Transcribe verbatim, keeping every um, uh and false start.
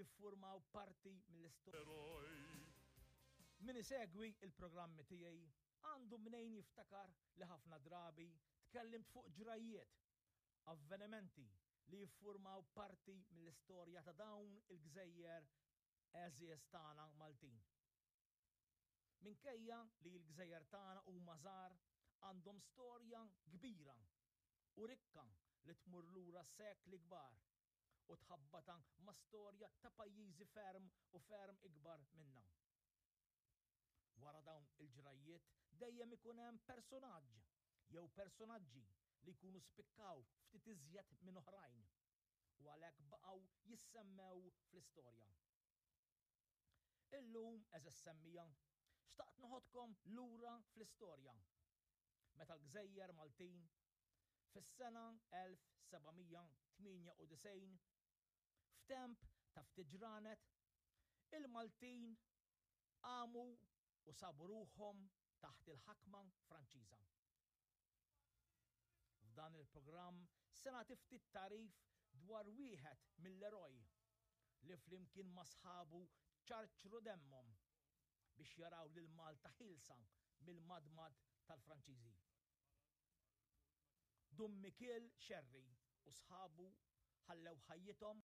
jiffurmaw parti mill-istorja. Eroj. Min isegwi il-programmi tiegħi għandu mnejn jiftakar li ħafna drabi tkellimt fuq ġrajjiet, avvenimenti li jiffurmaw parti mill-istorja ta' dawn il-gżejjer għeżież tagħna Maltin. Minkejja li l-gżejjer tagħna huma żgħar, għandhom storja kbira u rikka li tmur lura sekli kbar u tħabbata ma' storja ta' pajjiżi ferm u ferm ikbar minna. Wara dawn il-ġrajjiet dejjem ikun hemm personaġġ jew personaġġi li jkunu spikkaw ftit iżjed minn oħrajn u għalhekk baqgħu jissemmew fl-istorja. Illum, għeżież semmiegħa, xtaqt noħodkom lura fl-istorja. Meta l-gżejjer Maltin fis-sena elf seba' mija tmienja u disgħin, f'temp ta' ftit ġranet, il-Maltin qamu u sabu ruħhom taħt il-ħakma Franċiża. F'dan il-programm se nagħti ftit tagħrif dwar wieħed mill-eroj li flimkien ma' sħabu ċarċru demmhom biex jaraw lil Malta ħielsa mill-madmad tal-Franċiżi. Dun Mikiel Xerri u sħabu ħallew ħajjithom.